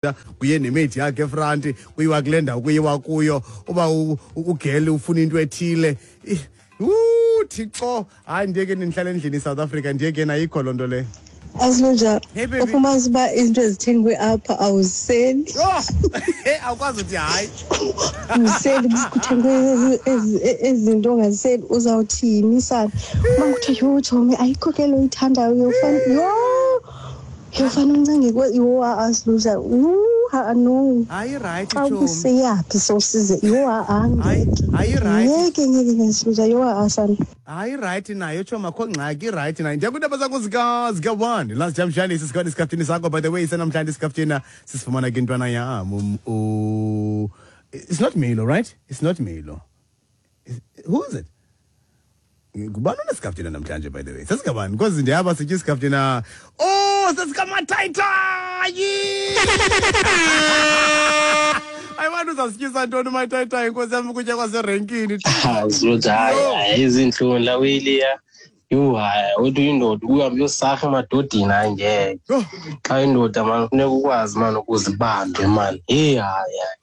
Kuye nemate yakhe efranti, kuyiwa kule ndawo kuyiwa kuyo, uba ugele ufuna into ethile. Thixo, hayi, ndiye ke nindihlala endlini iSouth Africa, ndiye ke nayikho loo nto leyo. Asilunja. Hey, baby. Ufumanisa uba izinto ezithengwe apha awuziseli. Yho! Awukwazi uthi hayi. Awuziseli, kuthengwe ezi zinto ongaziseli, uzawuthini sana? Uba kuthiwa, yho tshomi, ayikho ke lo uyithandayo, uyofana, yho, yofana uncenge, yho, asilunja, ha no. Hayi, rayithi. Xa Tshomi. Ubuseyaphi sowusize, yho, ha-a. Hayi. Ngeke. Hayi, rayithi. Ngeke, ngeke, ngeke, Siluja, yho, ha-a sana. Hayi, rayithi nayo tshomi, akho ngxaki, irayithi nayo. Ndiya kwiindaba zakho zika-1 last jamshane sisikhona isikaftina sakho. By the way, isenamhlanje isikaftina sisifumana ke intwana yam, it's not Milo, right? It's not Milo. Who is it? Ngubani onesikaftina namhlanje, by the way? Sesikabani? Because ndiyaba sitya isikaftina. Oh, sesikamatayitayi. Ayibantu, uzasityisa ntoni umatayitayi, inkosi yam, ukutya kwaserenkini? Zuthi hayi, hayi, izintloni la weliya. Yho, hayi, uthi uyindoda uhambe uyosarha emadodeni, hayi ngeke. Yho. Xa indoda mani funeka ukwazi mani ukuzibambe mani. Heyi, hayi, hayi.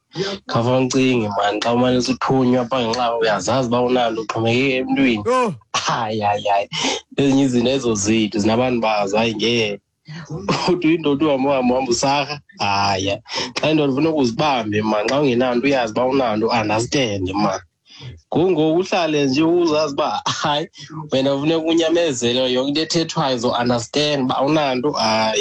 Khawufane ucinge mani xa umane usuthunywa apha ngenxa uyazazi uba unalo uxhomekeke emntwini. Yho. Hayi, hayi, hayi. Ezinye izinto ezo zethu zinabantu bazo, hayi ngeke. Uthi uyindoda uhambe uhambe uhambe usarha, hayi. Xa indoda funeka uzibambe mani, xa ungenanto uyazi uba unanto, understand mani. Ngoku uhlale nje uzazi uba hayi wena funeka unyamezele yonke into ethethwayo, zo-understand uba awunanto, hayi.